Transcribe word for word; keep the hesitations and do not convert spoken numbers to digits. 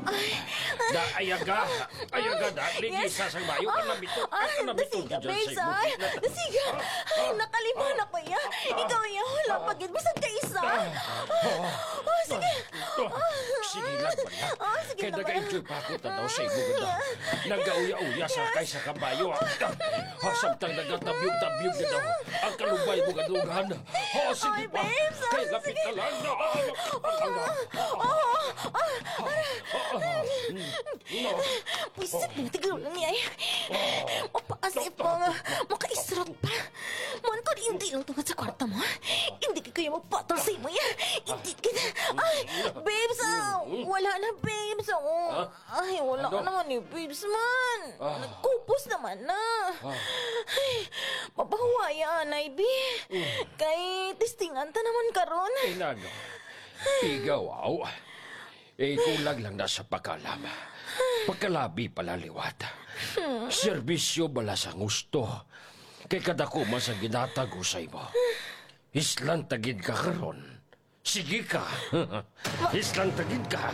Ay. Da, ayaga. Ayaga, da. Ligi Yes. sa sang bayo. Ah, Ang nabito. ah, Ang nabito dasiga, dyan sa babes, imo. ay. Dasiga. Ay, nakalima na ko, ya. Ikaw, ya, wala pa gid. Bisag ka isa. Ah. Oh, sige. Ah, sige lang, bala. Ah, sige Kaya lang, bala. nag-enjoy pa ako tanaw sa imo, ganda. Nagauya-uya sa kay sa kabayo, ah. Ah, samtang nagatabyog-tabyog na daw ang kalubay mo, gadungan. Oh, sige Ay, pa. babes, ah, Kay lapit sige. na lang na. Ah, ah, ah, ah, ah, ah, ah. Pwisit mo, tigaw lang niya eh. Mapaas eh pa nga, makaisrot pa. Man ko, hindi lang tungod sa kwarta mo. Hindi ka kaya mapatol sa imo yan. Hindi ka na. Ay, babes, ah, wala na, babes, oh. Ha? Ay, wala Ano? ka naman ni babes man. Ah. Nagkupos naman na. Ah. Ay, mapahuwaya, anay, bi. Mm. Kay testingan ta naman karon. Inano? Ikaw, aw. Ikulag lang na sa pagkalam. Pagkalabi pala liwat. Serbisyo bala sa gusto. Kay kadako man sa ginatag ko sa imo. Islan tagid ka karon. Sige ka. Islan tagid ka.